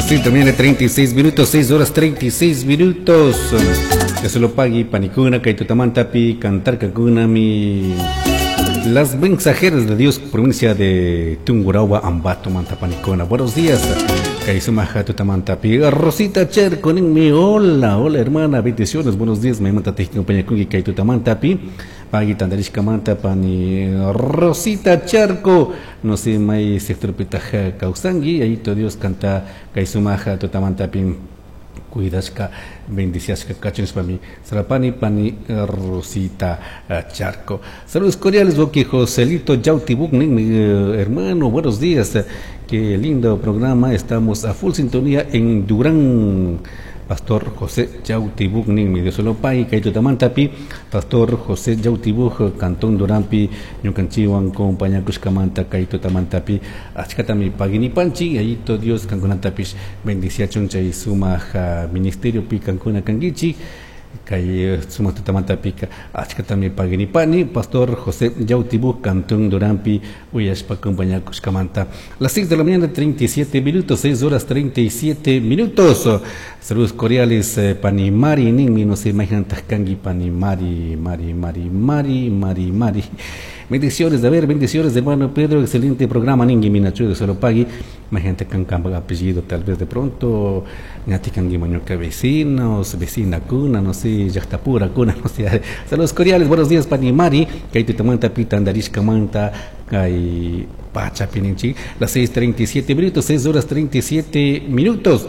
Las 6 de la mañana, 36 minutos, 6 horas 36 minutos. Dios lo pague, panikuna, kay tutamantapi, cantarkakuna, mi las mensajeras de Dios, provincia de Tungurahua, Ambato, manta panikuna. Buenos días. Kay sumaja tutamantapi. Rosita Cherco, mi hola, hola hermana, bendiciones, buenos días. Me manta te kay tutamantapi. Pagui tandarishkamanta pani Rosita Charco, no sé, may sector pitaja kawsanki, Yayito Dios kanta kay sumaja tutamantapi cuidashka, bendiciashka kachun mi Sarapani pani Rosita Charco. Saludos cordiales, Boqui Joselito Yautibuk, mi hermano, buenos días. Qué lindo programa, estamos a full sintonía en Durán. Pastor José Yautibuk, mi Dios lo pague, kay tutamantapi, Pastor José Yautibuk, Cantón Durampi, ñukanchikwan compañakushkamanta, kay tutamantapi, achkatami paginipanchik, Yayito Dios kankunatapish bendiciachun chay sumaj ministerio pi kankuna kankichik, kay sumaq tutamantapika achkatami paginipani Pastor José Yautibuk, Cantón Durampi, uyashpa compañakushkamanta. Las 6 de la mañana 37 minutos, 6 horas 37 minutos. Saludos cordiales, pani Mari, ninmi, no sé, imaginan kanki pani Mari, Mari, Mari, Mari, Mari, Mari. Bendiciones, a ver, bendiciones, hermano Pedro, excelente programa, ningi minachu de solo pagui. Imagínate kan apellido, tal vez de pronto, ñati kanki mañuka vecinos, vecina kuna, no sé, llaqtapura kuna, no sé. Saludos cordiales, buenos días, pani Mari, kay tutamanta pita andarishkamanta, kay pacha pininchi, las 6:37 minutos, 6 horas 37 minutos.